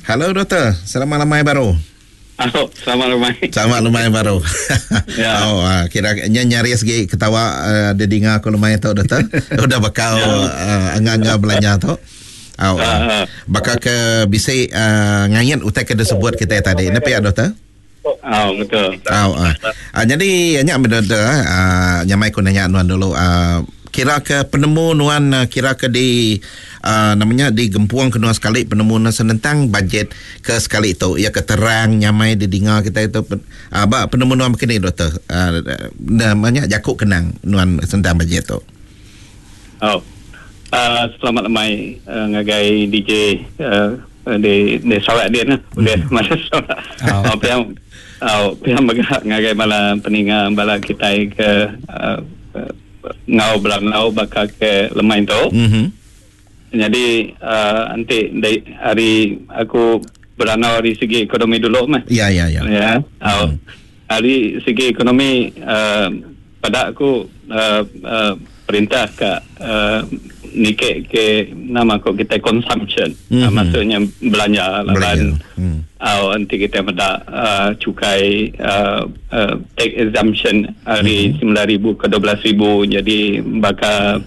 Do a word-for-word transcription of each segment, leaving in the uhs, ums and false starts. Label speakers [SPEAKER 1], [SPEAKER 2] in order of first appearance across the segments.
[SPEAKER 1] Hello doktor, selamat lemai baru.
[SPEAKER 2] Oh, selamat lemai.
[SPEAKER 1] Selamat lemai baru.
[SPEAKER 2] Ya.
[SPEAKER 1] Oh, uh, kira nya nyaris gi ketawa uh, didinga aku lemai tu doktor. Udah bakal
[SPEAKER 2] Ya.
[SPEAKER 1] uh, angga-angga belanja tu. Oh, uh,
[SPEAKER 2] Ah, ah.
[SPEAKER 1] bakal ke bisi uh, ngayat utai ke disebut kita tadi. Napa ya doktor?
[SPEAKER 2] Oh, betul.
[SPEAKER 1] Oh, uh. Uh, jadi nya doktor uh, nyamai ku nanya nuan dulu uh, kira ke penemu nuan uh, kira ke di uh, namanya di gempuang ke nuan sekali penemu nuan senentang bajet ke sekali tu ya ke terang nyamai didinga kita itu uh, ba penemu nuan begini doktor uh, namanya jakuk kenang nuan sentang bajet tu.
[SPEAKER 2] Oh. Uh, selamat lemai uh, ngagai D J uh, di di Sarawak dia nah. Boleh
[SPEAKER 1] Hmm.
[SPEAKER 2] mana Sarawak.
[SPEAKER 3] Oh.
[SPEAKER 2] Oh, pihak oh, pihak megah ngagai bala peninga bala kita ke uh, uh, ngau belanau bakal ke lemai tu.
[SPEAKER 1] Mhm.
[SPEAKER 2] Jadi uh, nanti dari hari aku beranau dari segi ekonomi dulu mah.
[SPEAKER 1] Ya ya ya.
[SPEAKER 2] Ya. Oh. Dari segi ekonomi uh, pada aku uh, uh, perintah ke uh, nikek ke nama ko kita consumption.
[SPEAKER 1] Mhm.
[SPEAKER 2] Uh, maksudnya belanja lah
[SPEAKER 1] Belanja.
[SPEAKER 2] kan.
[SPEAKER 1] Hmm.
[SPEAKER 2] Uh, nanti kita meda uh, cukai uh, uh, tax exemption hari
[SPEAKER 1] Mhm.
[SPEAKER 2] sembilan ribu ke dua belas ribu jadi bakal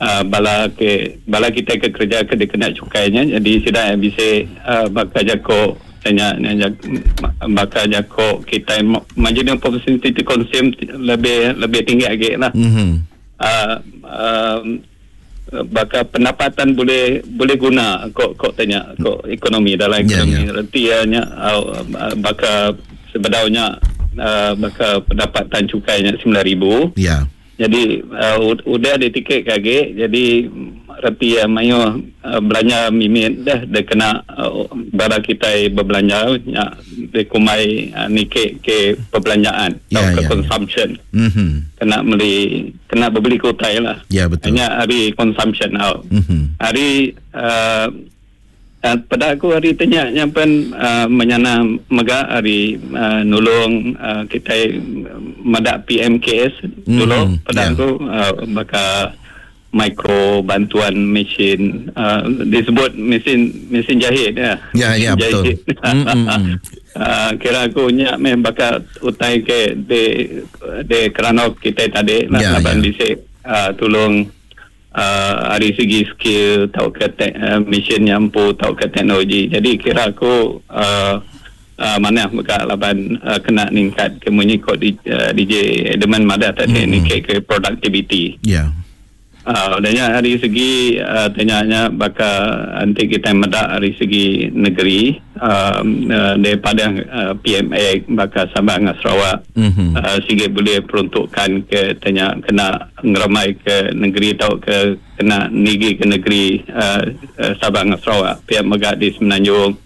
[SPEAKER 2] uh, bala ke bala kita ke kerja ke dikena cukainya jadi sudah bisa uh, bakal jako tanya nanya bakal jako kita marginal propensity to consume lebih lebih tinggi lagi lah.
[SPEAKER 1] Mhm.
[SPEAKER 2] Uh, um, bakal pendapatan boleh boleh guna kok kok tanya kok ekonomi dalam
[SPEAKER 1] Ya,
[SPEAKER 2] ekonomi
[SPEAKER 1] ya.
[SPEAKER 2] reti nya uh, bakal sebedaunya uh, bakal pendapatan cukainya sembilan ribu.
[SPEAKER 1] Ya.
[SPEAKER 2] Jadi uh, udah ditiket kage jadi reti ya mayo uh, belanja mimit dah dia kena uh, bara kita berbelanja nya dia kumai uh, nikek ke perbelanjaan
[SPEAKER 1] Ya,
[SPEAKER 2] atau ke
[SPEAKER 1] ya, ya.
[SPEAKER 2] consumption.
[SPEAKER 1] Mhm.
[SPEAKER 2] Kena beli kena berbeli kutai lah.
[SPEAKER 1] Ya, betul.
[SPEAKER 2] Hanya hari consumption out.
[SPEAKER 1] Mhm.
[SPEAKER 2] Hari uh, uh, pada aku hari tanya yang pen uh, menyana mega hari uh, nulung uh, kita madak P M K S dulu
[SPEAKER 1] Mhm,
[SPEAKER 2] pada
[SPEAKER 1] ya.
[SPEAKER 2] aku uh, bakal mikro bantuan mesin uh, disebut mesin mesin jahit ya.
[SPEAKER 1] Ya, ya,
[SPEAKER 2] Mesin
[SPEAKER 1] betul.
[SPEAKER 2] jahit.
[SPEAKER 1] Mm, mm, mm.
[SPEAKER 2] Uh, kira aku nyak meh bakal utai ke de de kerana kita tadi lah
[SPEAKER 1] Ya,
[SPEAKER 2] laban
[SPEAKER 1] ya.
[SPEAKER 2] bisik uh, tolong uh, dari segi skill atau ke te- uh, mesin yang empu atau ke teknologi. Jadi kira aku uh, uh, mana buka laban uh, kena ningkat ke munyi kod di, uh, D J Edelman Madah tadi
[SPEAKER 1] Mm-mm.
[SPEAKER 2] mm-hmm. ni ke productivity.
[SPEAKER 1] Ya.
[SPEAKER 2] Uh, udahnya dari segi uh, tanyanya bakal nanti kita medak dari segi negeri um, uh, daripada uh, P M A bakal Sabah dengan Sarawak
[SPEAKER 1] Mhm.
[SPEAKER 2] uh, sikit boleh peruntukkan ke tanya kena ngeramai ke negeri atau ke kena nigi ke negeri uh, uh, Sabah dengan Sarawak pihak megak di Semenanjung.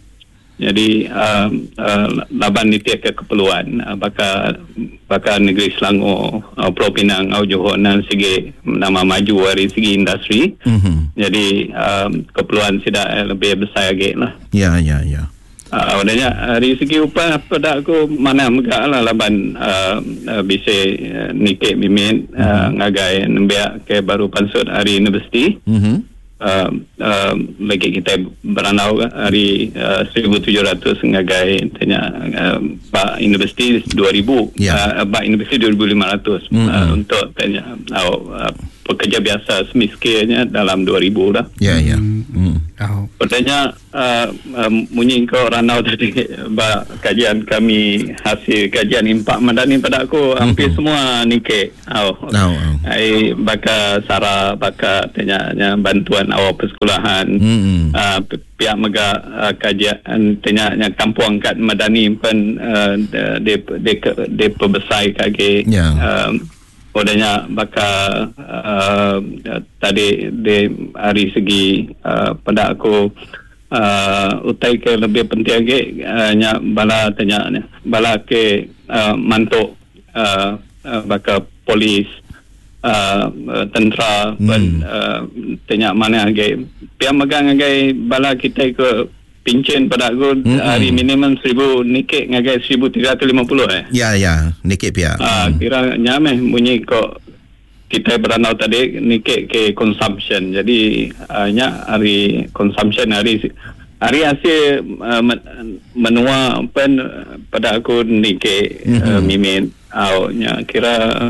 [SPEAKER 2] Jadi um, uh, laban ni tiap ke keperluan uh, bakal bakal negeri Selangor, uh, Pulau Pinang, uh, Johor dan segi nama maju dari segi industri.
[SPEAKER 1] Mhm.
[SPEAKER 2] Jadi um, keperluan sudah lebih besar lagi lah.
[SPEAKER 1] Ya ya ya.
[SPEAKER 2] Uh, Maknanya dari segi upah pada aku mana megak lah laban uh, uh, bisa uh, nikik mimit uh, ngagai nembiak ke baru pansut hari universiti.
[SPEAKER 1] Mhm.
[SPEAKER 2] Uh, uh, lagi kita beranau hari uh, seribu tujuh ratus ngagai tanya uh, bak universiti dua ribu.
[SPEAKER 1] Ya.
[SPEAKER 2] Uh, bak universiti dua ribu lima ratus,
[SPEAKER 1] Mm-mm.
[SPEAKER 2] uh, untuk tanya uh, uh, pekerja biasa semiskilnya dalam dua ribu lah.
[SPEAKER 1] Ya ya. Mm.
[SPEAKER 3] Oh.
[SPEAKER 2] Pertanyaan uh, uh, munyi kau ranau tadi ba kajian kami hasil kajian impak madani pada aku hampir semua nikek. Oh.
[SPEAKER 1] Oh, oh.
[SPEAKER 2] Ai baka sara baka tanya bantuan awal persekolahan.
[SPEAKER 1] Mm-mm.
[SPEAKER 2] Uh, pihak mega uh, kajian tanya kampung kat madani pun uh, de de de perbesar kage.
[SPEAKER 1] Ya.
[SPEAKER 2] Um, Odanya bakal uh, tadi di hari segi uh, pada aku uh, utai ke lebih penting lagi uh, nya bala tanya ni bala ke uh, mantuk uh, uh, bakal polis uh, uh, tentera
[SPEAKER 1] Hmm.
[SPEAKER 2] pun uh, tanya mana lagi pihak megang lagi bala kita ke pincin pada aku
[SPEAKER 1] Mm-mm.
[SPEAKER 2] hari minimum seribu nikik ngagai seribu tiga ratus lima puluh eh.
[SPEAKER 1] Ya ya, nikik pihak.
[SPEAKER 2] Ah, kira nyameh bunyi kok kita beranau tadi nikik ke consumption. Jadi uh, nya hari consumption hari Hari hasil uh, menua pen pada aku nike mm-hmm. uh, mimin au nya kira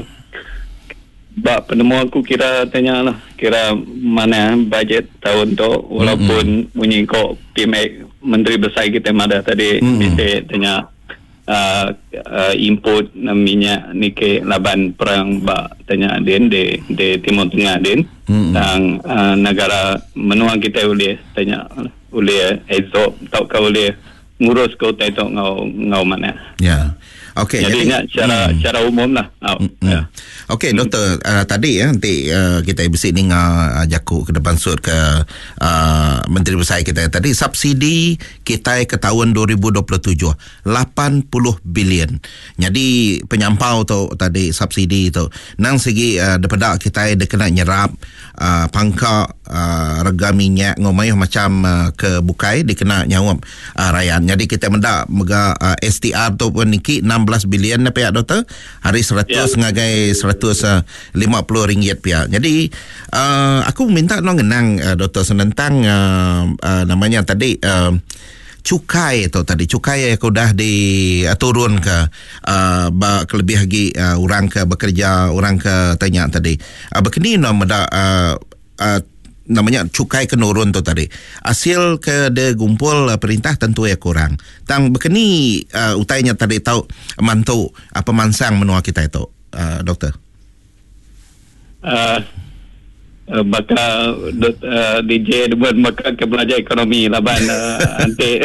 [SPEAKER 2] bak penemu aku kira tanya lah kira mana bajet tahun tu walaupun mm-hmm. bunyi kok P M Menteri Besar kita madah tadi mm-hmm. bisa tanya uh, uh, input minyak nike laban perang bak tanya din di di Timur Tengah din mm-hmm. dan uh, negara menua kita boleh tanya boleh absorb atau kau boleh ngurus kau tai tu ngau ngau mana.
[SPEAKER 1] Ya. Okey,
[SPEAKER 2] jadi jadi cara hmm. cara umum lah. Oh,
[SPEAKER 1] hmm. Ya. Okey, hmm. doktor, uh, tadi ya nanti uh, kita bisi ninga uh, jaku ke depan sud ke uh, Menteri Besar kita tadi subsidi kita ke tahun dua ribu dua puluh tujuh lapan puluh bilion. Jadi penyampau tu tadi subsidi tu nang segi uh, daripada kita dia kena nyerap uh, pangka uh, rega minyak ngomayuh macam uh, ke bukai dikena nyawab uh, rakyat. Jadi kita mendak mega uh, S T R tu pun niki enam belas bilion na pihak doktor hari seratus yeah. ngagai seratus lima puluh ringgit pihak. Jadi uh, aku minta no ngenang uh, doktor senentang uh, uh, namanya tadi uh, cukai tu tadi cukai yang udah di uh, turun ke uh, kelebih lagi uh, orang ke bekerja orang ke tanya tadi uh, berkini no meda uh, uh, namanya cukai kenurun tu tadi. Hasil ke de gumpul perintah tentu ya kurang. Tang berkeni uh, utainya tadi tahu mantu uh, pemansang menua kita itu, uh, doktor.
[SPEAKER 2] Uh, uh, bakal uh, D J buat bakal ke belajar ekonomi laban uh, anti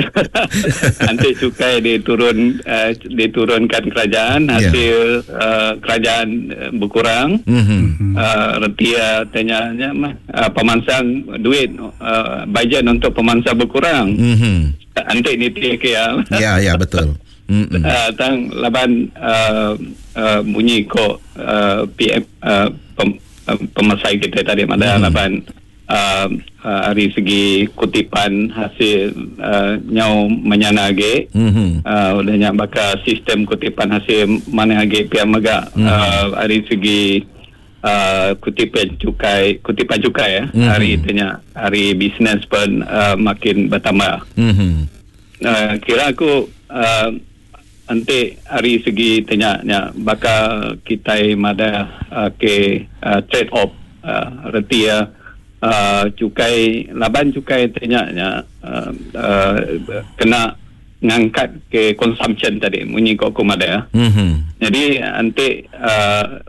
[SPEAKER 2] anti cukai diturun uh, diturunkan kerajaan hasil yeah. uh, kerajaan berkurang. Mm-hmm. Uh, retia tanya mah uh, pemansang duit uh, bajet untuk pemansang berkurang. Mm-hmm. Anti niti ke ya.
[SPEAKER 1] Ya ya betul. Mm-hmm.
[SPEAKER 2] Uh, tang laban uh, uh, bunyi ko uh, P M uh, pem, pemasai kita tadi ada hmm. laban uh, uh, dari segi kutipan hasil uh, nyau menyana age hmm. uh, udahnya bakal sistem kutipan hasil mana age pihak megak hmm. uh, dari segi uh, kutipan cukai kutipan cukai ya hmm. hari tanya hari bisnes pun uh, makin bertambah. Hmm. Uh, kira aku uh, nanti hari segi tanya nya bakal kita mada uh, ke uh, trade off uh, reti ya uh, cukai laban cukai tanya nya uh, uh, kena ngangkat ke consumption tadi bunyi kok aku mada ya. Mm-hmm. Jadi nanti uh,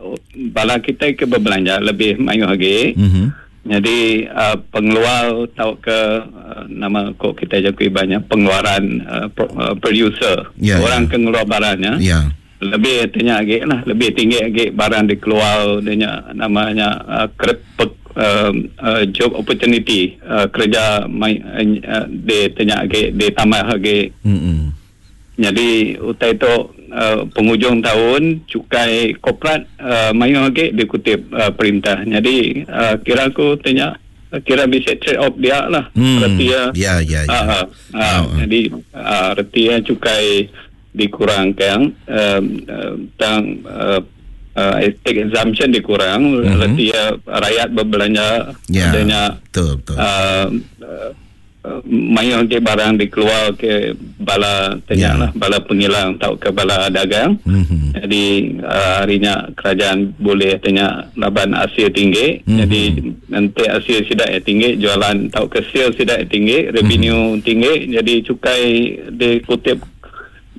[SPEAKER 2] bala kita ke berbelanja lebih mayu lagi. Mm-hmm. Jadi uh, pengeluar atau ke uh, nama kok kita jakui banyak pengeluaran uh, pro, uh, producer yeah, orang yeah. ke ngeluar barangnya yeah. lebih tanya lagi lah lebih tinggi lagi barang dikeluar dia namanya uh, kerep, uh, uh, job opportunity uh, kerja mai, uh, dia tanya lagi dia tambah lagi. Mm-hmm. Jadi utai tu uh, penghujung tahun cukai korporat uh, mayu lagi dikutip uh, perintah. Jadi uh, kira aku tanya kira bisa trade off dia lah.
[SPEAKER 1] Hmm.
[SPEAKER 2] Reti ya.
[SPEAKER 1] Ya ya ya.
[SPEAKER 2] Uh, uh, uh, oh. Jadi uh, reti ya cukai dikurangkan uh, uh, tang uh, uh, tax exemption dikurang, mm-hmm. reti ya rakyat berbelanja
[SPEAKER 1] ya,
[SPEAKER 2] adanya
[SPEAKER 1] betul betul.
[SPEAKER 2] Uh, uh, mayu ke barang dikeluar ke bala tanya yeah. lah bala pengilang atau ke bala dagang. Mm-hmm. Jadi uh, harinya kerajaan boleh tanya laban hasil tinggi. Mm-hmm. Jadi nanti hasil sidak yang tinggi jualan atau ke sale sidak yang tinggi revenue mm-hmm. tinggi jadi cukai dikutip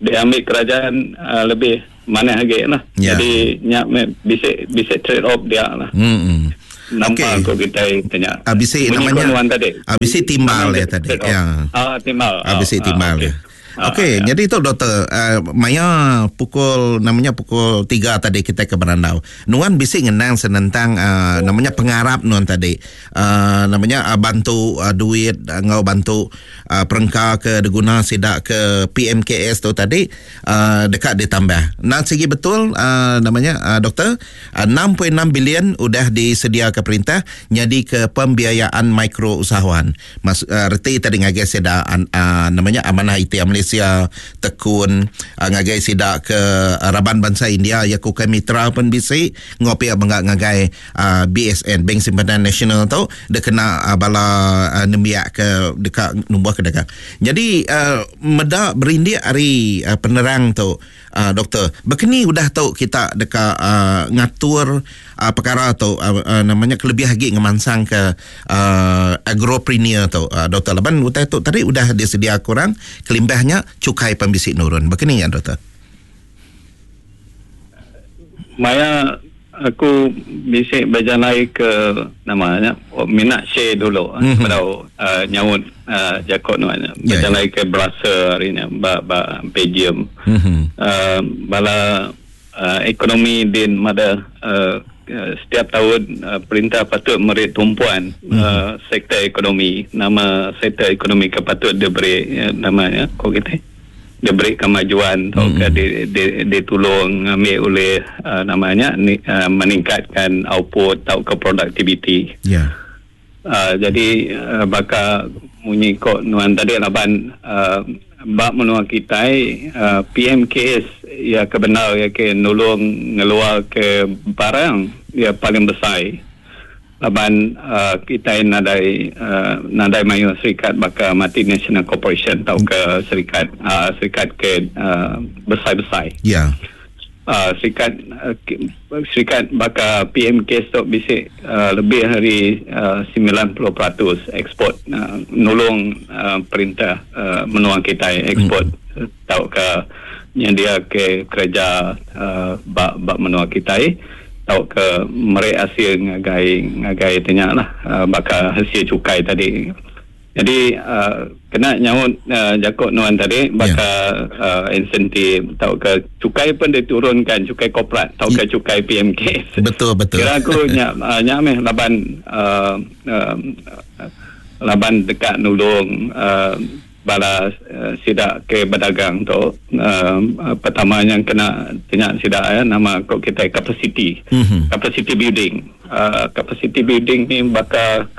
[SPEAKER 2] diambil kerajaan uh, lebih mana lagi lah. Yeah. Jadi nyak bisa bisa trade off dia lah.
[SPEAKER 1] Mm-hmm.
[SPEAKER 2] Nampak okay. Kita tanya.
[SPEAKER 1] Abisi namanya abisi timbal ya tadi. Ya.
[SPEAKER 2] Ah timbal.
[SPEAKER 1] Abisi timbal
[SPEAKER 2] ah,
[SPEAKER 1] ya. Okey, ah, jadi itu doktor uh, maya pukul namanya pukul tiga tadi kita ke Berandau. Nuan bisi ngenang senentang uh, namanya pengarap nuan tadi. Uh, namanya uh, bantu uh, duit uh, ngau bantu uh, perengka ke diguna sidak ke P M K S tu tadi uh, dekat ditambah. Nah segi betul uh, namanya uh, doktor uh, enam perpuluhan enam bilion udah disedia ke perintah jadi ke pembiayaan mikro usahawan. Mas uh, reti tadi ngagai seda uh, namanya amanah I T Malaysia Malaysia Tekun uh, ngagai sida ke uh, raban bangsa India ya ku Mitra pun bisi ngopi bangga ngagai uh, B S N Bank Simpanan Nasional tu dekena uh, bala uh, nembiak ke dekat numbuh ke dagang. Jadi uh, meda berindik hari uh, penerang tu uh, doktor, bekeni udah tu kita deka uh, ngatur uh, perkara tu uh, uh, namanya kelebih lagi ngemansang ke uh, agropreneur tu uh, doktor. Laban utai tu tadi udah disedia kurang kelimbahnya cukai pembisik nurun. Bekeni ya doktor?
[SPEAKER 2] Maya aku bisik berjalan ke namanya minat share dulu mm-hmm. pada uh, nyaut uh, jakot nuannya yeah, berjalan yeah. ke Brussels hari ni ba ba Belgium mm-hmm. uh, bala uh, ekonomi din mada uh, setiap tahun uh, perintah patut meri tumpuan mm-hmm. uh, sektor ekonomi, nama sektor ekonomi ke patut diberi uh, namanya kau kita diberi kemajuan atau mm-hmm. di, di, ditolong ambil oleh uh, namanya ni, uh, meningkatkan output atau ke productivity.
[SPEAKER 1] Ya. Yeah.
[SPEAKER 2] Uh, jadi uh, bakal munyi kok nuan tadi laban uh, bab menua kita uh, P M K S ya kebenar ya ke nolong ngeluar ke barang ya paling besar. Laban uh, kita nadai uh, nadai mayu serikat baka multinational corporation atau ke serikat uh, serikat ke uh, besar-besar.
[SPEAKER 1] Ya. Yeah.
[SPEAKER 2] Uh, serikat uh, serikat baka P M K tu bisik uh, lebih dari uh, sembilan puluh peratus ekspor uh, nolong uh, perintah uh, menua kita ekspor mm. atau ke nyedia ke kerja uh, bak bak menua kita atau ke merek hasil ngagai ngagai tanya lah uh, bakal hasil cukai tadi. Jadi uh, kena nyaut uh, jakot nuan tadi bakal yeah. uh, insentif atau ke cukai pun diturunkan, cukai korporat atau ke cukai P M K.
[SPEAKER 1] Betul betul.
[SPEAKER 2] Kira aku nyak uh, nyak meh laban uh, uh, laban dekat nulung uh, bala uh, sidak ke berdagang tu uh, pertama yang kena tanya sidak ya nama kok kita capacity
[SPEAKER 1] mm-hmm.
[SPEAKER 2] capacity building uh, capacity building ni bakal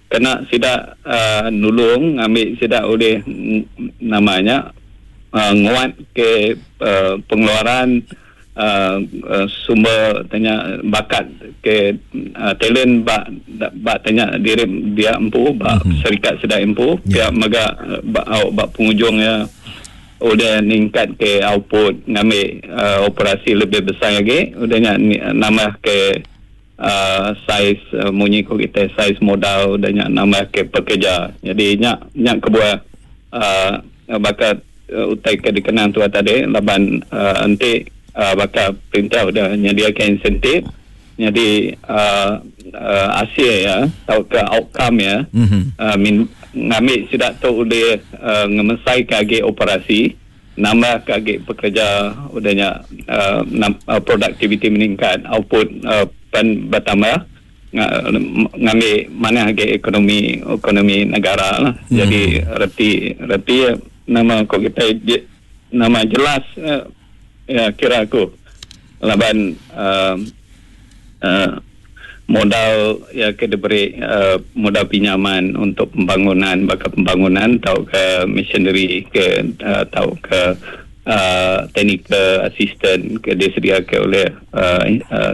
[SPEAKER 2] kena sidak uh, nulung ambil sidak oleh namanya uh, nguat ke uh, pengeluaran uh, uh, sumber tanya bakat ke uh, talent bak bak tanya diri dia empu bak mm-hmm. syarikat sedang empu yeah. Pihak maga bak bak penghujungnya udah ningkat ke output ngambil uh, operasi lebih besar lagi udahnya nambah ke uh, saiz uh, munyi ko kita saiz modal udahnya nambah ke pekerja. Jadi nyak nyak kebuah uh, bakat uh, utai ke dikenang tua tadi laban uh, enti Uh, bakal perintah udah nyediakan insentif jadi uh, uh, hasil ya atau ke outcome ya
[SPEAKER 1] mm-hmm.
[SPEAKER 2] uh, min, ngambil sidak tu boleh uh, ngemesai kage operasi nambah kage pekerja udahnya uh, nam, uh, productivity meningkat output uh, pen bertambah ngambil mana harga ekonomi ekonomi negara lah.
[SPEAKER 1] Mm-hmm.
[SPEAKER 2] Jadi reti reti nama kok kita nama jelas uh, ya kira aku laban uh, uh, modal ya ke diberi uh, modal pinjaman untuk pembangunan bakal pembangunan atau ke missionary ke uh, atau ke uh, technical assistant ke disediakan oleh uh, uh,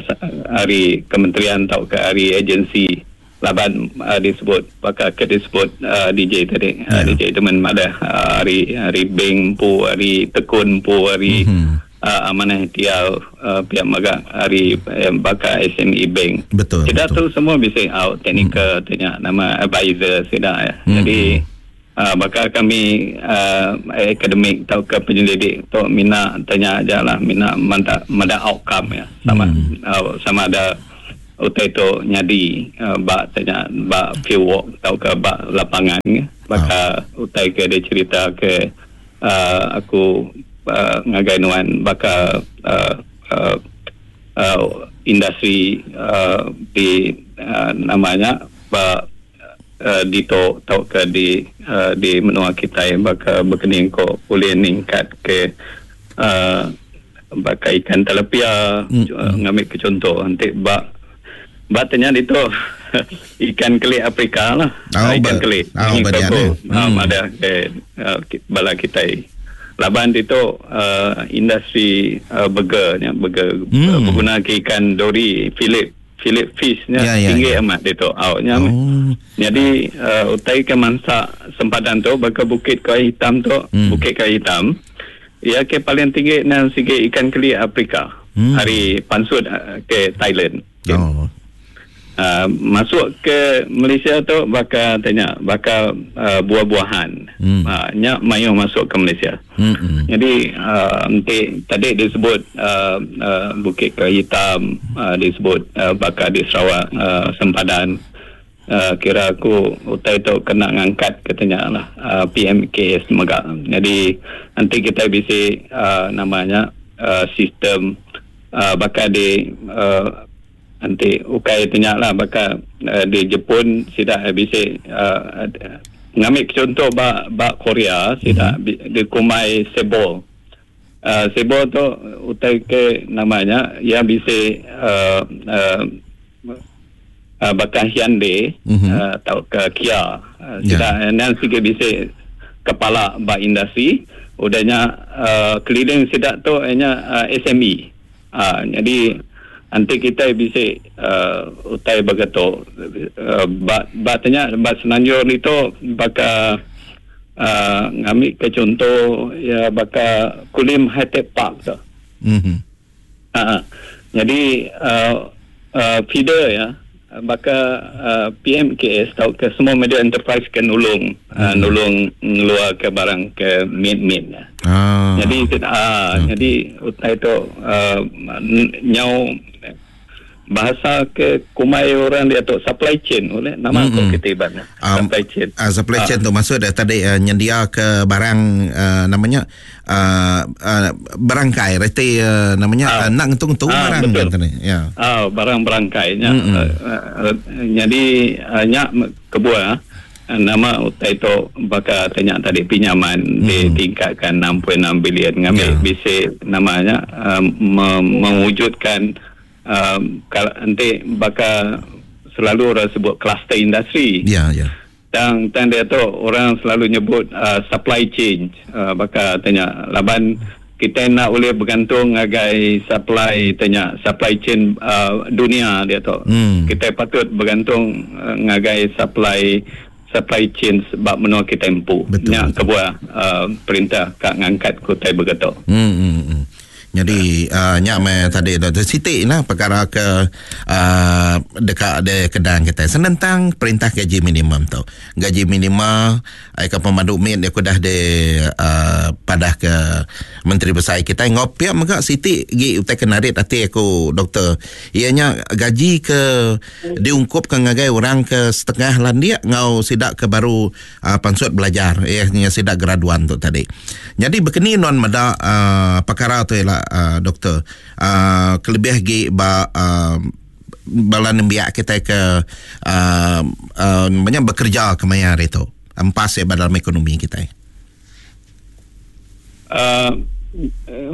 [SPEAKER 2] hari kementerian atau ke hari agensi laban uh, disebut bakal ke disebut uh, D J tadi yeah. uh, D J teman ada uh, hari hari bank pu hari tekun pu hari
[SPEAKER 1] mm-hmm.
[SPEAKER 2] Uh, amanah tial uh, pihak maga hari eh, bakal S M E Bank.
[SPEAKER 1] Betul.
[SPEAKER 2] Kita
[SPEAKER 1] betul.
[SPEAKER 2] Tu semua bisa out technical
[SPEAKER 1] hmm.
[SPEAKER 2] tanya nama advisor sudah ya.
[SPEAKER 1] Hmm.
[SPEAKER 2] Jadi uh, bakal kami uh, akademik atau ke penyelidik tu mina tanya aja lah mina manda manda outcome ya. Sama
[SPEAKER 1] hmm.
[SPEAKER 2] uh, sama ada utai tu nyadi uh, bak tanya bak field work atau ke bak lapangan ya. Bakal
[SPEAKER 1] oh.
[SPEAKER 2] utai ke dia cerita ke uh, aku Uh, ngagai nuan bakal uh, uh, uh, industri uh, di uh, namanya ba uh, di to tau ke di uh, di menua kita yang bakal berkening ko boleh ningkat ke uh, bakal ikan tilapia
[SPEAKER 1] mm.
[SPEAKER 2] uh, ngambil ke contoh nanti bak batanya itu ikan kelik Afrika lah
[SPEAKER 1] oh,
[SPEAKER 2] ikan
[SPEAKER 1] ba-
[SPEAKER 2] kelik
[SPEAKER 1] oh,
[SPEAKER 2] ini
[SPEAKER 1] ba-
[SPEAKER 2] ko
[SPEAKER 1] hmm.
[SPEAKER 2] um, ada ke uh, bala kita Laban itu uh, industri uh, burger nya burger hmm. uh, berguna ke ikan dori Philip Philip fish nya ya, ya, tinggi ya. Amat itu outnya. Oh. Jadi uh, utai ke mansa sempadan tu baka bukit kayu hitam tu hmm. bukit kayu hitam ya ke paling tinggi nang sigi ikan keli Afrika hmm. hari pansut uh, ke Thailand. Okay. Oh. Uh, masuk ke Malaysia tu baka tanya baka uh, buah-buahan hmm. uh, nya mayu masuk ke Malaysia. Hmm. Jadi uh, nanti tadi disebut uh, uh, Bukit Kayu Hitam uh, disebut uh, baka di Sarawak uh, sempadan uh, kira aku utai tu kena ngangkat katanya lah uh, P M K S mega. Jadi nanti kita bisa uh, namanya uh, sistem uh, baka di uh, nanti ukai tanya lah bakal uh, di Jepun sidak bisa uh, ngambil contoh ba ba Korea sidak mm-hmm. di kumai sebol uh, sebol tu utai ke namanya yang bisa uh, uh, uh, bakal Hyundai mm-hmm. uh, atau ke Kia uh, sidak yeah. nan sikit bisa kepala ba industri udahnya uh, keliling sidak tu hanya uh, S M E uh, jadi nanti kita bisa uh, utai begitu uh, ba batnya ba Semenanjung itu baka uh, ngambil ke contoh ya baka Kulim High Tech Park tu.
[SPEAKER 1] Mhm.
[SPEAKER 2] Uh, jadi uh, uh, feeder ya baka uh, P M K S atau ke semua media enterprise ke nulung mm-hmm. uh, nulung ngeluar ke barang ke mid-mid.
[SPEAKER 1] Ah.
[SPEAKER 2] Jadi ah uh, okay. Jadi utai tu uh, nyau bahasa ke kumai orang dia tu supply chain oleh nama mm-hmm. aku kita iban
[SPEAKER 1] um,
[SPEAKER 2] supply chain.
[SPEAKER 1] Uh, supply chain uh. tu maksud dah tadi uh, nyendia ke barang uh, namanya uh, uh, berangkai reti uh, namanya uh, uh, nak ngetung-ngetung uh, barang kan tadi. Ya.
[SPEAKER 2] Ah uh, barang berangkainya.
[SPEAKER 1] Mm-hmm.
[SPEAKER 2] Uh, uh, jadi uh, nyak kebuah uh, nama utai tu bakal tanya tadi pinjaman mm-hmm. ditingkatkan enam perpuluhan enam bilion ngambil
[SPEAKER 1] yeah.
[SPEAKER 2] bisa namanya uh, me- mewujudkan Um, kalau nanti bakal selalu orang sebut kluster industri.
[SPEAKER 1] Ya, ya.
[SPEAKER 2] Dan dan dia tu orang selalu nyebut uh, supply chain. Uh, bakal tanya laban kita nak boleh bergantung agai supply tanya supply chain uh, dunia dia tu.
[SPEAKER 1] Hmm.
[SPEAKER 2] Kita patut bergantung uh, ngagai supply supply chain sebab menua kita empu.
[SPEAKER 1] Betul.
[SPEAKER 2] Nyak kebuah uh, perintah kak ngangkat kutai begitu.
[SPEAKER 1] Hmm, hmm, hmm. Jadi uh, nyak me tadi Doktor Siti lah perkara ke uh, dekat de kedang kita senentang perintah gaji minimum tu. Gaji minima ai ke pemandu mit dia dah de uh, padah ke Menteri Besar kita ngopiak mega Siti gi utai kenarit ati aku doktor. Ianya gaji ke diungkup ke ngagai orang ke setengah landia ngau sidak ke baru uh, pansut belajar ianya sidak graduan tu tadi. Jadi bekeni non meda uh, perkara tu ialah Uh, doktor uh, kelebih gi ba uh, bala nembiak kita ke uh, uh, banyak bekerja ke maya hari tu empas ya dalam ekonomi kita.
[SPEAKER 2] Uh,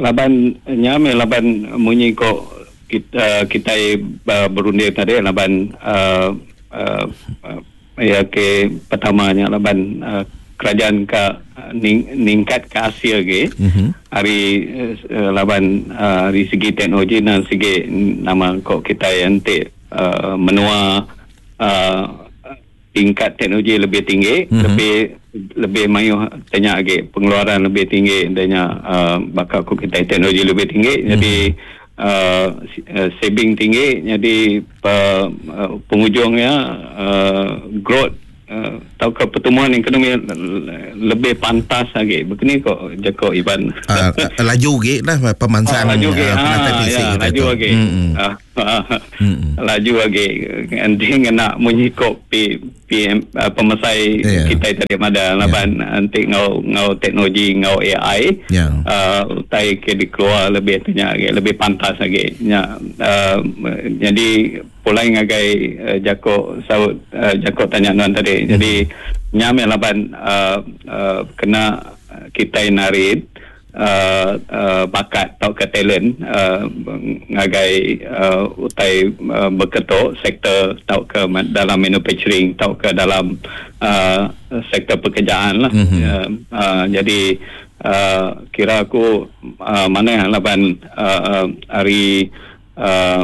[SPEAKER 2] laban nyame laban munyi ko kita kita uh, berunding tadi laban uh, uh, uh, ya ke pertamanya laban uh, kerajaan ke ning, ningkat ke Asia ke
[SPEAKER 1] mm-hmm.
[SPEAKER 2] hari uh, laban uh, dari segi teknologi dan segi nama kok kita yang te uh, menua uh, tingkat teknologi lebih tinggi
[SPEAKER 1] mm-hmm.
[SPEAKER 2] lebih lebih mayu tanya lagi pengeluaran lebih tinggi tanya uh, bakal kok kita teknologi lebih tinggi
[SPEAKER 1] mm-hmm.
[SPEAKER 2] jadi uh, saving tinggi jadi uh, uh, penghujungnya uh, growth Uh, atau ke pertumbuhan ekonomi lebih pantas lagi. Begini kok Jacob Ivan.
[SPEAKER 1] Uh, laju ge lah pemansang.
[SPEAKER 2] Oh, laju ge.
[SPEAKER 1] Uh,
[SPEAKER 2] Ha, ya, laju lagi.
[SPEAKER 1] Mm-hmm.
[SPEAKER 2] Uh, mm-hmm. Laju lagi. Nanti kena munyi kok P, P M, uh, pemesai
[SPEAKER 1] yeah.
[SPEAKER 2] kita tadi ada laban
[SPEAKER 1] yeah.
[SPEAKER 2] nanti ngau ngau teknologi ngau A I.
[SPEAKER 1] Yeah.
[SPEAKER 2] Uh, utai ke dikeluar lebih tanya lagi, lebih pantas lagi. Ya, uh, jadi pulai ngagai uh, Jacob saut uh, Jacob tanya nuan tadi.
[SPEAKER 1] Hmm.
[SPEAKER 2] Jadi nyame laban uh, uh, kena kita narit uh, uh, bakat atau ke talent uh, ngagai uh, utai uh, berketuk sektor atau ke dalam manufacturing atau ke dalam uh, sektor pekerjaan lah.
[SPEAKER 1] Mm-hmm.
[SPEAKER 2] Uh, uh, jadi uh, kira aku uh, mana laban uh, uh, hari uh,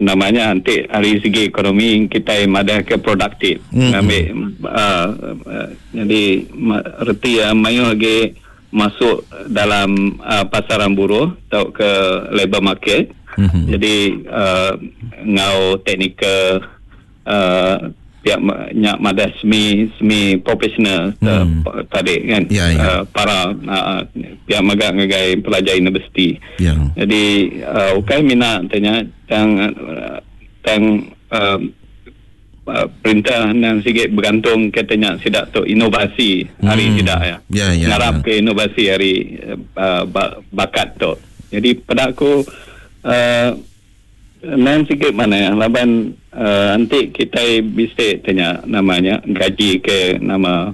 [SPEAKER 2] namanya nanti hari segi ekonomi kita madah ke produktif mm-hmm. Ambil uh, uh, jadi reti uh, mayu lagi masuk dalam uh, pasaran buruh atau ke labor market mm-hmm. Jadi uh, ngau teknikal uh, pihak nyak madah semi semi profesional mm. uh, tadi kan
[SPEAKER 1] yeah, yeah.
[SPEAKER 2] Uh, para uh, pihak magak ngagai pelajar universiti.
[SPEAKER 1] Yeah.
[SPEAKER 2] Jadi uh, ukai minat tanya tang tang uh, uh, perintah nang sikit bergantung katanya sidak tu inovasi hari mm. sidak ya.
[SPEAKER 1] Yeah, yeah,
[SPEAKER 2] ngarap
[SPEAKER 1] yeah.
[SPEAKER 2] ke inovasi hari uh, bakat tu. Jadi pada aku uh, nang sikit mana ya laban uh, nanti kita bisa tanya namanya gaji ke nama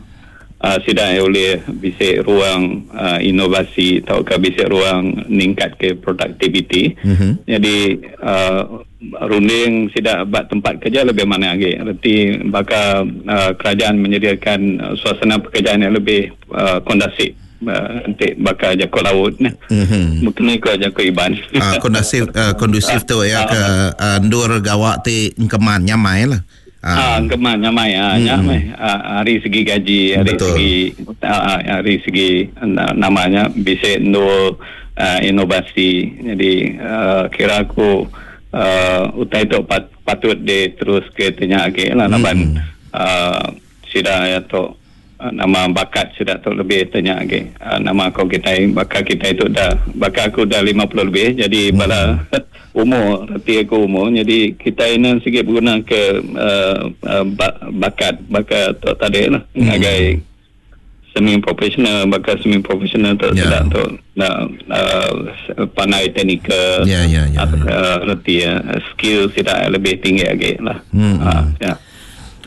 [SPEAKER 2] uh, sidang oleh bisa ruang uh, inovasi atau ke bisa ruang ningkat ke productivity.
[SPEAKER 1] Mm-hmm.
[SPEAKER 2] Jadi uh, runding sidak buat tempat kerja lebih mana lagi. Erti bakal uh, kerajaan menyediakan suasana pekerjaan yang lebih uh, kondusif. Uh, nanti bakal jakut laut ni.
[SPEAKER 1] Mm-hmm.
[SPEAKER 2] Mungkin ko jakut iban.
[SPEAKER 1] Ah, kondusif uh, kondusif tu ya ke uh, ndur gawak ti engkeman nyamai lah.
[SPEAKER 2] Ah, engkeman nyamai ah,
[SPEAKER 1] mm-hmm.
[SPEAKER 2] nyamai. Ah, hari segi gaji, hari
[SPEAKER 1] Betul.
[SPEAKER 2] segi ah, hari segi namanya bisa ndur uh, inovasi. Jadi uh, kira aku uh, utai tu pat, patut de terus ke tanya lagi lah laban
[SPEAKER 1] mm-hmm.
[SPEAKER 2] uh, sida ya tu nama bakat sudah tu lebih tanya lagi. Uh, nama kau kita bakal kita itu dah bakal aku dah lima puluh lebih jadi
[SPEAKER 1] hmm.
[SPEAKER 2] bala umur reti aku umur jadi kita ini sikit berguna ke uh, uh, bakat bakat tu tadi lah
[SPEAKER 1] hmm.
[SPEAKER 2] ngagai semi profesional bakal semi profesional tu
[SPEAKER 1] yeah.
[SPEAKER 2] sudah tu nak uh, pandai teknikal
[SPEAKER 1] ya ya ya
[SPEAKER 2] reti uh, skill sudah lebih tinggi lagi lah.
[SPEAKER 1] Hmm.
[SPEAKER 2] Uh, ya. Yeah.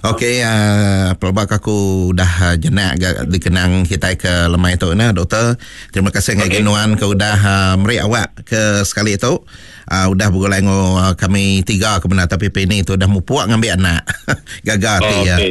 [SPEAKER 1] Okey, uh, pelbak aku dah uh, jenak dikenang kita ke lemai tu nah doktor. Terima kasih ngagai
[SPEAKER 2] okay.
[SPEAKER 1] Nuan ke udah uh, meri awak ke sekali tu. Uh, udah bergulai ngo uh, kami tiga ke benar tapi P N tu dah mupuak ngambil anak. Gagal
[SPEAKER 2] oh,
[SPEAKER 1] ti ya.
[SPEAKER 2] Okay.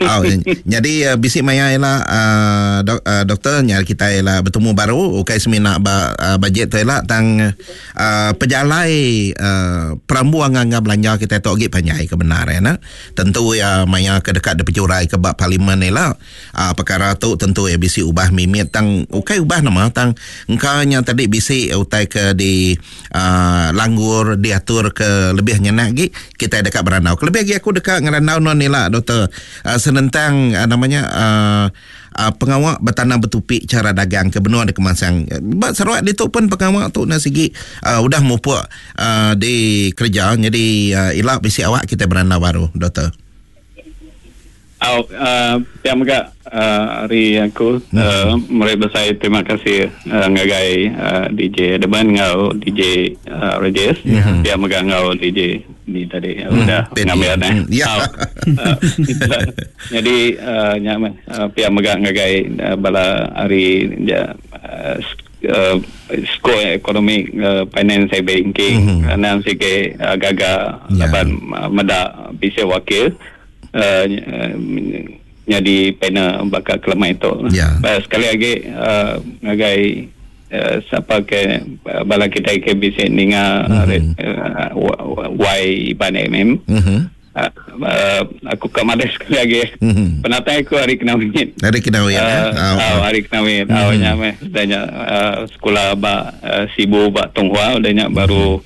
[SPEAKER 1] Oh, jadi uh, bisik maya ialah uh, dok, uh, doktor nyari kita ialah bertemu baru ukai semina ba, uh, bajet tu ialah tang uh, pejalai uh, perambuan nganga belanja kita tu agi panjai ke benar ya nah. Tentu ya maya ke dekat de pecurai ke bab parlimen ni lah. Uh, perkara tu tentu ya bisi ubah mimit tang ukai ubah nama tang engkaunya tadi bisi utai ke di uh, langgur diatur ke lebih nyenak lagi kita dekat berandau. Lebih lagi aku dekat ngerandau non ni lah doktor uh, senentang uh, namanya uh, uh, pengawak bertanam bertupik cara dagang ke benua di Kemansang. Bak Sarawak itu pun pengawak tu nak segi uh, udah mupuk uh, di kerja jadi uh, ilak bisi awak kita berandau baru doktor.
[SPEAKER 2] Oh, uh, pihak megak uh, hari aku
[SPEAKER 1] hmm.
[SPEAKER 2] uh, mereka saya terima kasih uh, ngagai uh, D J Deban ngau D J uh, Rajesh
[SPEAKER 1] hmm.
[SPEAKER 2] Pihak megak ngau D J ni tadi
[SPEAKER 1] hmm.
[SPEAKER 2] udah ngambil eh.
[SPEAKER 1] Ya.
[SPEAKER 2] Oh, uh, jadi uh, nyaman uh, pihak megak ngagai uh, bala hari ja, uh, uh, skor ekonomi uh, finance and banking
[SPEAKER 1] mm-hmm.
[SPEAKER 2] nang sike uh, gaga
[SPEAKER 1] yeah.
[SPEAKER 2] laban uh, meda bisa wakil Uh, jadi panel bakal kelemah itu.
[SPEAKER 1] Yeah.
[SPEAKER 2] Uh, sekali lagi uh, ngagai uh, siapa ke uh, bala kita ke bisa ninga
[SPEAKER 1] mm-hmm.
[SPEAKER 2] uh, Y Iban M M.
[SPEAKER 1] Mm-hmm.
[SPEAKER 2] Uh, uh, aku ke mana sekali lagi.
[SPEAKER 1] Mm-hmm.
[SPEAKER 2] Penatai aku hari Kenawit.
[SPEAKER 1] Hari Kenawit.
[SPEAKER 2] Uh,
[SPEAKER 1] eh?
[SPEAKER 2] oh, oh, hari Kenawit.
[SPEAKER 1] Mm-hmm.
[SPEAKER 2] Oh, nyame danya uh, sekolah ba uh, Sibu ba Tonghua danya
[SPEAKER 1] mm-hmm.
[SPEAKER 2] baru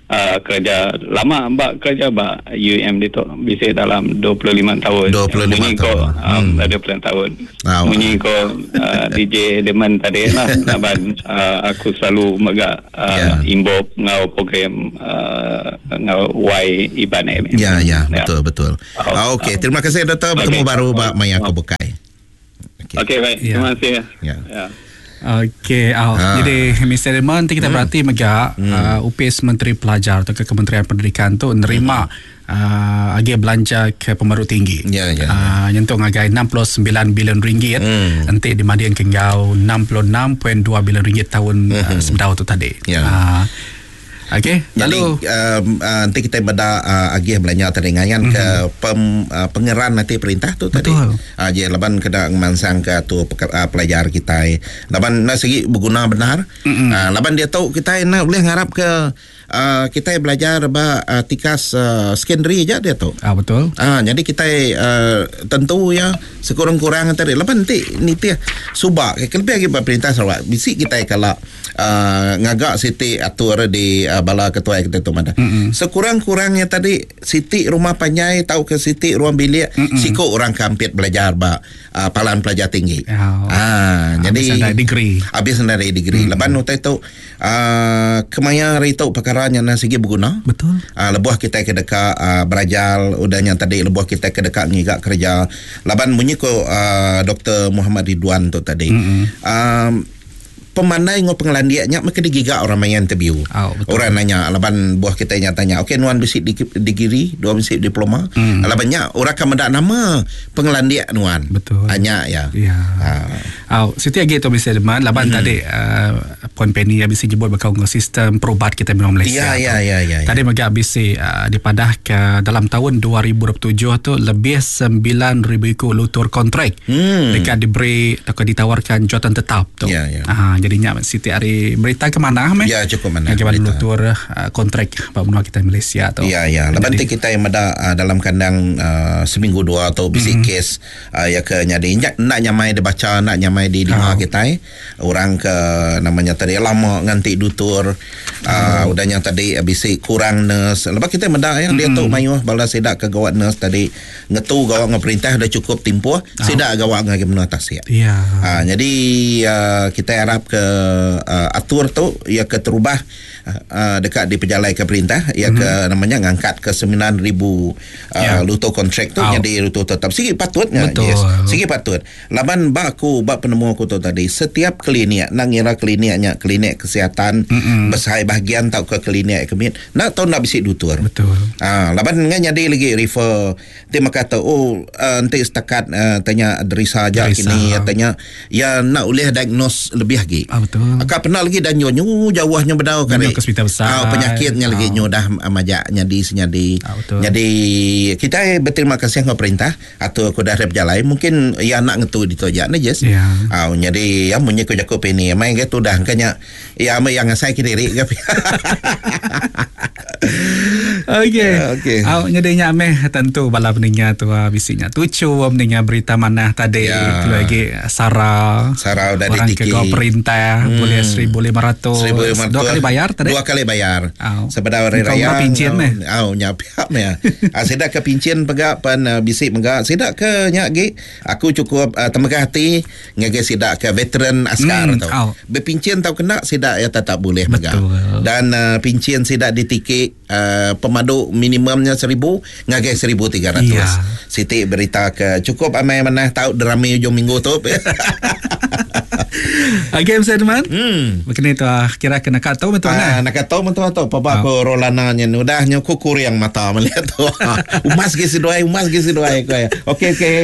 [SPEAKER 2] Uh, kerja lama mbak kerja ba U M itu bisa dalam dua puluh lima tahun.
[SPEAKER 1] dua puluh lima
[SPEAKER 2] Munyi
[SPEAKER 1] tahun.
[SPEAKER 2] Ko, um,
[SPEAKER 1] hmm.
[SPEAKER 2] dua puluh lima tahun.
[SPEAKER 1] Oh.
[SPEAKER 2] Munyi ko uh, D J Deman tadi lah laban uh, aku selalu megak uh,
[SPEAKER 1] yeah.
[SPEAKER 2] involve ngau program uh, ngau Y Iban M.
[SPEAKER 1] Ya ya,
[SPEAKER 2] ya.
[SPEAKER 1] Betul betul.
[SPEAKER 2] Oh.
[SPEAKER 1] Okey, terima kasih doktor bertemu
[SPEAKER 2] okay.
[SPEAKER 1] baru ba Maya
[SPEAKER 2] Oh.
[SPEAKER 1] Kobukai. Okey,
[SPEAKER 2] okay, baik.
[SPEAKER 3] Ya.
[SPEAKER 2] Terima kasih.
[SPEAKER 1] Ya.
[SPEAKER 2] Ya.
[SPEAKER 3] Okey, oh,
[SPEAKER 1] Ha.
[SPEAKER 3] jadi Mister Raymond nanti kita
[SPEAKER 1] Hmm.
[SPEAKER 3] berarti megak
[SPEAKER 1] Hmm.
[SPEAKER 3] uh, U P S Menteri Pelajar atau ke Kementerian Pendidikan tu nerima
[SPEAKER 1] Hmm.
[SPEAKER 3] uh, agi belanja ke pemaru tinggi.
[SPEAKER 1] Ya, ya,
[SPEAKER 3] Uh, nyentuh ngagai enam puluh sembilan bilion ringgit.
[SPEAKER 1] Hmm.
[SPEAKER 3] Nanti dimanding ke ngau enam puluh enam perpuluhan dua bilion ringgit tahun
[SPEAKER 1] Hmm.
[SPEAKER 3] uh, sebedau tu tadi.
[SPEAKER 1] Ya.
[SPEAKER 3] Uh, Okey,
[SPEAKER 1] lalu um, uh, nanti kita beda uh, agih belanja tadi ngayan mm-hmm. ke pem, uh, pengeran nanti perintah tu tadi.
[SPEAKER 3] Betul.
[SPEAKER 1] Uh, je laban kena ngemansang ke tu uh, pelajar kita. Laban nak segi berguna benar. Mm-hmm. Uh, laban dia tahu kita nak boleh ngarap ke uh, kita belajar ba uh, tikas uh, secondary aja dia tu.
[SPEAKER 3] Ah betul.
[SPEAKER 1] Ah uh, jadi kita uh, tentu ya sekurang-kurang tadi laban nanti ni subak ke lebih lagi perintah Sarawak bisi kita kalau uh, ngagak siti atur di uh, bala ketua kita tu mana. Mm-hmm. Sekurang-kurangnya tadi siti rumah panjai tau ke siti ruang bilik mm-hmm. siko orang kampit belajar ba uh, palan pelajar tinggi.
[SPEAKER 3] Oh.
[SPEAKER 1] Ah jadi
[SPEAKER 3] habis degree.
[SPEAKER 1] Habis dari degree. Mm-hmm. Leban utai tu uh, kemaya hari tu perkara nya segi berguna.
[SPEAKER 3] Betul.
[SPEAKER 1] Uh, lebuh kita ke dekat uh, belajar udahnya tadi lebuh kita ke dekat ngigak kerja. Laban bunyi ko uh, Doktor Muhammad Ridwan tu tadi.
[SPEAKER 3] Mm-hmm.
[SPEAKER 1] Um, pemandai ngo pengelandiaknya mereka digigak orang main interview.
[SPEAKER 3] Oh,
[SPEAKER 1] orang nanya laban buah kita nya tanya, okey nuan bisi di degree, dua bisi diploma.
[SPEAKER 3] Mm.
[SPEAKER 1] Labannya orang akan mendak nama pengelandiak nuan.
[SPEAKER 3] Betul.
[SPEAKER 1] Hanya ya.
[SPEAKER 3] Ya.
[SPEAKER 1] Ha.
[SPEAKER 3] Oh, siti lagi tu bisa deman laban
[SPEAKER 1] mm.
[SPEAKER 3] tadi uh, Puan Penny yang bisa jebut bakal dengan sistem perubat kita memang Malaysia.
[SPEAKER 1] Ya, ya, ya, ya, ya.
[SPEAKER 3] Tadi mega bisi uh, dipadah ke dalam tahun dua ribu dua puluh tujuh tu lebih sembilan ribu ikut lutur kontrak.
[SPEAKER 1] Mm.
[SPEAKER 3] Dekat diberi atau ditawarkan jawatan tetap tu.
[SPEAKER 1] Ya, ya.
[SPEAKER 3] Ha, jadinya siti hari berita ke mana meh?
[SPEAKER 1] Ya cukup mana.
[SPEAKER 3] Bagaimana lutur uh, kontrak pak menua kita Malaysia tu.
[SPEAKER 1] Ya ya. Lepas nanti kita yang ada uh, dalam kandang uh, seminggu dua atau bisi
[SPEAKER 3] mm-hmm.
[SPEAKER 1] kes uh, ya ke nyadi nak nyamai dibaca nak nyamai di dengar
[SPEAKER 3] oh.
[SPEAKER 1] kita eh. Orang ke namanya tadi lama nganti dutur uh,
[SPEAKER 3] oh.
[SPEAKER 1] udahnya tadi bisi kurang nurse. Lepas kita mendak ya
[SPEAKER 3] mm-hmm.
[SPEAKER 1] dia tu mayuh bala sidak ke gawat nurse tadi ngetu gawat dengan perintah dah cukup timpuh
[SPEAKER 3] oh.
[SPEAKER 1] sidak gawat dengan menua tasik.
[SPEAKER 3] Ya.
[SPEAKER 1] Uh, jadi uh, kita harap ke uh, atur tu ia ke terubah uh, dekat di pejalai ke perintah ia
[SPEAKER 3] mm-hmm.
[SPEAKER 1] ke namanya ngangkat ke sembilan ribu uh,
[SPEAKER 3] yeah.
[SPEAKER 1] luto kontrak tu
[SPEAKER 3] oh.
[SPEAKER 1] jadi luto tetap sigi patutnya.
[SPEAKER 3] Betul.
[SPEAKER 1] Yes. Sigi patut. Laban bak aku bak penemu aku tu tadi setiap klinik nak ngira kliniknya klinik kesihatan
[SPEAKER 3] mm-hmm.
[SPEAKER 1] besai bahagian tau ke klinik kemit nak tahu nak bisik dutur.
[SPEAKER 3] Betul.
[SPEAKER 1] Ah laban ngan jadi lagi refer dia kata oh uh, nanti setakat uh, tanya derisa aja kini tanya ya nak boleh diagnose lebih lagi.
[SPEAKER 3] Ah, betul.
[SPEAKER 1] Akak pernah lagi dan nyu jauhnya bedau kan.
[SPEAKER 3] Ke hospital besar.
[SPEAKER 1] Ah, penyakitnya
[SPEAKER 3] ah.
[SPEAKER 1] lagi nyu dah majak nyadi senyadi.
[SPEAKER 3] Ah, betul.
[SPEAKER 1] Jadi kita berterima kasih kepada perintah atau aku dah berjalan mungkin ya nak ngetu di tojak ni jes.
[SPEAKER 3] Ya.
[SPEAKER 1] Ah jadi ya munyi ku jaku peni mai ke tu dah kanya ya mai yang ngasai ke diri ke.
[SPEAKER 3] Okey.
[SPEAKER 1] Okey.
[SPEAKER 3] Au nyedinya meh tentu bala pendengar tu bisinya tucu mendengar berita mana tadi
[SPEAKER 1] ya.
[SPEAKER 3] Itu lagi Sarah.
[SPEAKER 1] Sarah udah
[SPEAKER 3] orang
[SPEAKER 1] ditiki.
[SPEAKER 3] Ke perintah
[SPEAKER 1] hmm.
[SPEAKER 3] boleh seribu lima ratus.
[SPEAKER 1] seribu lima ratus.
[SPEAKER 3] Dua kali bayar tadi.
[SPEAKER 1] Dua kali bayar.
[SPEAKER 3] Au.
[SPEAKER 1] Sebab hari raya.
[SPEAKER 3] Pincin meh.
[SPEAKER 1] Au nyapiap meh. Ah sedak ke pincin pegak pen uh, bisik megak sedak ke nyak gi aku cukup uh, temegah hati ngage sedak ke veteran askar
[SPEAKER 3] hmm.
[SPEAKER 1] tu.
[SPEAKER 3] Au.
[SPEAKER 1] Berpincin tau kena sedak ya tetap boleh megak. Dan uh, pincin sedak ditiki uh, pemadu minimumnya seribu ngagai seribu tiga ratus.
[SPEAKER 3] Ya.
[SPEAKER 1] Siti berita ke cukup amai mana tahu derami hujung minggu tu.
[SPEAKER 3] Okey, Mister Edman.
[SPEAKER 1] Hmm.
[SPEAKER 3] Begini tu kira kena kata betul
[SPEAKER 1] ah, nak kata betul atau papa aku Rolana nya udah nya ku kuriang mata melihat tu. Umas ge seduai, umas ge seduai ko ya. Okey okey.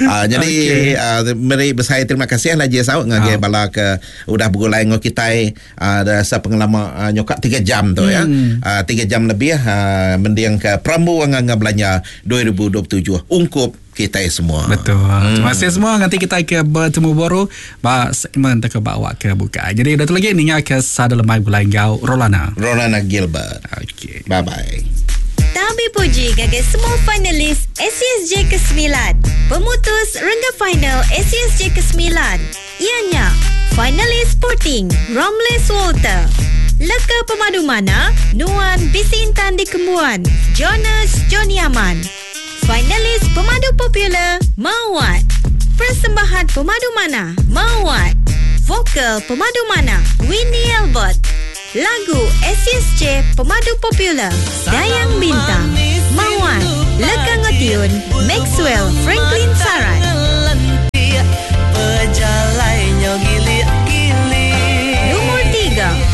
[SPEAKER 1] Ah jadi
[SPEAKER 3] okay.
[SPEAKER 1] uh, meri besar terima kasih lah je saut ngagai
[SPEAKER 3] Ah.
[SPEAKER 1] bala ke udah bergulai ngau kita uh, dah sepengelama uh, nyokak tiga jam tu ya.
[SPEAKER 3] Hmm.
[SPEAKER 1] Uh, tiga jam lebih uh, mendiang ke Perambu Angga Belanja dua ribu dua puluh tujuh ungkup kita semua.
[SPEAKER 3] Betul. Hmm. Terima kasih semua. Nanti kita ke bertemu baru ba segmen tak bawa ke buka. Jadi dah tu lagi ninga ke Sada Lemai Gulai Gau Rolana.
[SPEAKER 1] Rolana Gilbert.
[SPEAKER 3] Okey.
[SPEAKER 1] Bye bye.
[SPEAKER 4] Tabi puji gagal semua finalis A C S J kesembilan. Pemutus rengga final A C S J kesembilan. Ianya finalis Sporting Romles Walter. Leka pemadu mana Nuan Bisi Intan di Kembuan Jonas Johnny Aman. Finalis pemadu popular Mawat. Persembahan pemadu mana Mawat. Vokal pemadu mana Winnie Albert. Lagu A C S J pemadu popular Dayang Bintang Mawat. Leka Ngotiun Maxwell Franklin Salang.